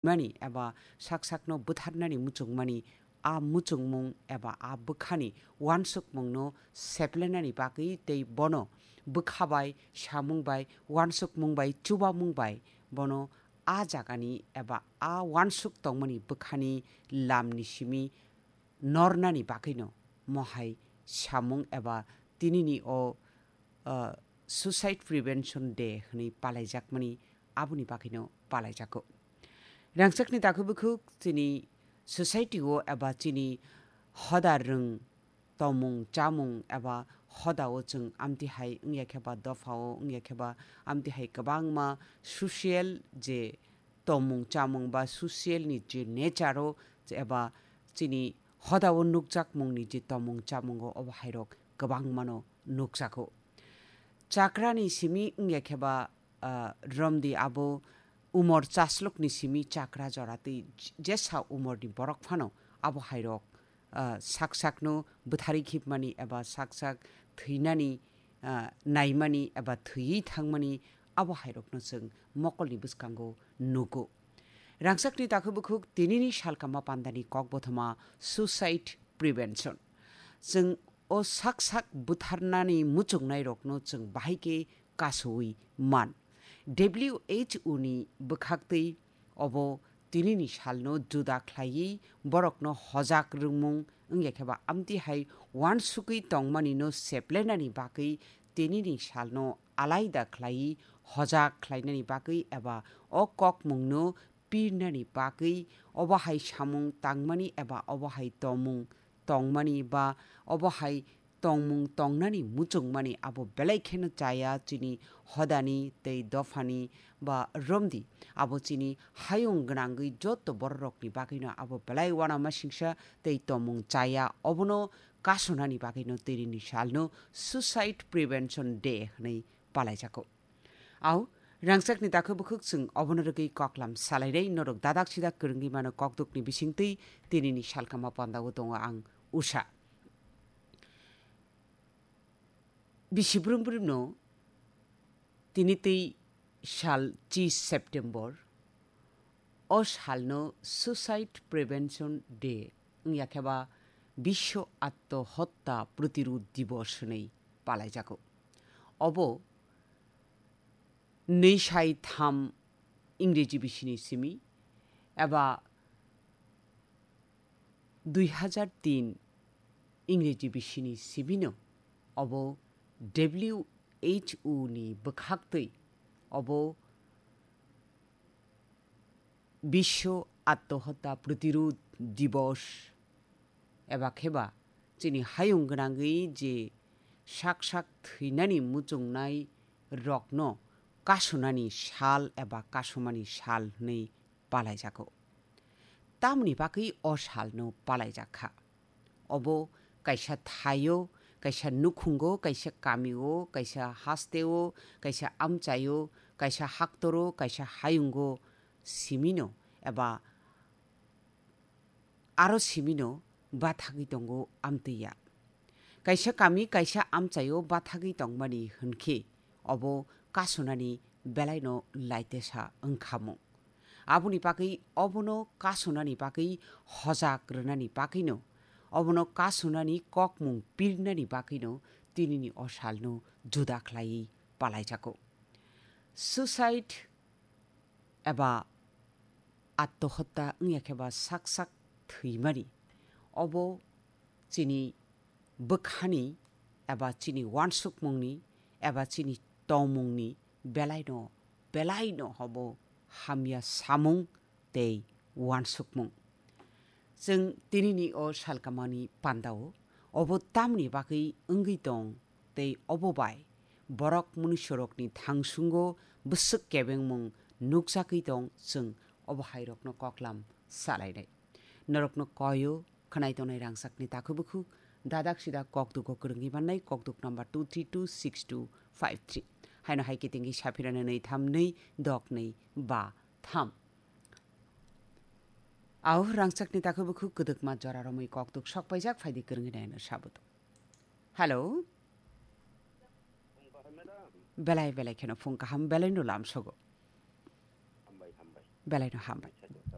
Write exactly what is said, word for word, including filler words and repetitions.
mani eba sak sakno bwtharnani muchungmani, a muchungmung eba a bwkhani uansukmungno seplenani bagwi tei bono bwkha bai, samung bai, uansukmung bai, chubamung bai bono a jagani eba a uansuk tongmani bwkhani lamni simi nornani bagwino mohai samung eba tinini o, uh, Suicide Prevention Day hwnwi palaijakmani, aboni bagwino palaijago. Rangchakni takhuk bukhuk chini society o eba chini hoda rwng tongmung chamung eba hoda o chwng amtwi hai wngya khe ba dopha o wngya khe ba amtwi hai kwbangma social je tongmung chamung ba social ni je nature o eba chini hoda o nukjakmung ni je tongmung chamung o obo hai rok kwbangma no nukjago. Chakrani simi wngya khe ba, ah, romdi abo umor chaslok ni simi chakra jora twi jesa umor ni borok phano abo hai rok, ah, sak sakno bwtharwi khibmani eba sak sak thwinani, ah, naimani eba thwiwi thangmani abo hai rokno chwng mokolni bwskango nugo. Rangchakni takhuk bukhuk tinini salkama pandani kokbothoma suicide prevention. Chwng o sak sak butharnani muchungnai rokno chwng bahai khe kasowi man. W H O ni bwkhaktwi obo tinini salno juda khlaiwi borokno hojak rwngmung wngya khe ba amtwi hai uansukwi tongmani no seplenani bagwi tinini salno alaida khlaiwi hojak khlainani bagwi eba o kokmungno pirnani bagwi obo hai samung tangmani eba obo hai tomung tongmani ba obo hai tongmung tongnani muchungmani abo belai kheno chaya chini hodani tei dophani ba romdi. Abo chini hayung gwnangwi joto bororokni bagwino abo belai uanamasingsa tei tomung chaya obono kasonani bagwino tinini salno Suicide Prevention Day hwnwi palaijago. Au, rangchakni dakhe bukhuk chwng obono rwgwi koklam salainai norok dadak sidak kwrwngwi mano kokdukni bisingtwi tinini salkama pandao tongo ang Usha. Bisi brum brumno tini twi sal chi September, o salno Suicide Prevention Day wngya khe ba Bisho Atto Hotta Protirud Dibos hwnwi palaijago. Obo nwi sai tham Ingreji bisini simi eba dui hajar tin Ingreji bisini simino obo W H O ni bwkhaktwi obo Bisho Attohotta Protirud Dibos eba khe ba chini hayung gwnangwi je sak sak thwinani muchungnai rokno kasonani sal eba kasomani sal hwnwi palaijago. Tamoni bagwi o salno palaijak kha? Obo kaisa thaio, kaisa nukhungo, kaisa kamio, kaisa hasteo, kaisa amchaio, kaisa haktoro, kaisa hayungo simino eba aro simino bathagwi tongo amtwi ya. Kaisa kami kaisa amchaio bathagwi tongmani hwnkhe obo kasonani belaino laitesa wngkhamung. Aboni bagwi obono kasonani bagwi hojak rwnani bagwino, obono kasonani kokmung pirnani bagwino tinini o salno juda khlaiwi palaijago. Suicide eba attohotta wngya khe ba sak sak thwimani, obo chini bwkhani eba chini uansukmungni eba chini tongmungni belaino, belaino hobo hamya samung tei uansukmung. Chwng tinini o salkamani pandao obo tamni bagwi wngwi tong tei obo bai borok munuisorokni thangsungo bwswk kebengmung nukjagwi tong, chwng obo hairokno koklam salainai. Norokno koyo khwnai tongnai rangchakni takhuk bukhuk dadak sidak kokdugo kwrwngwi mannai, kokduk number two three two six two five three. Haino hai kitingwi saphirano nwi tham nwi dok nwi ba tham. Au rangchakni takhuk bukhuk kwdwkma jora romwi kokduk sok paijak, phaidi kwrwngwi naino sabuto. Hello. Belai belai kheno phung kaham, belaino lamsogo. Hambai, hambai. Belaino hambai.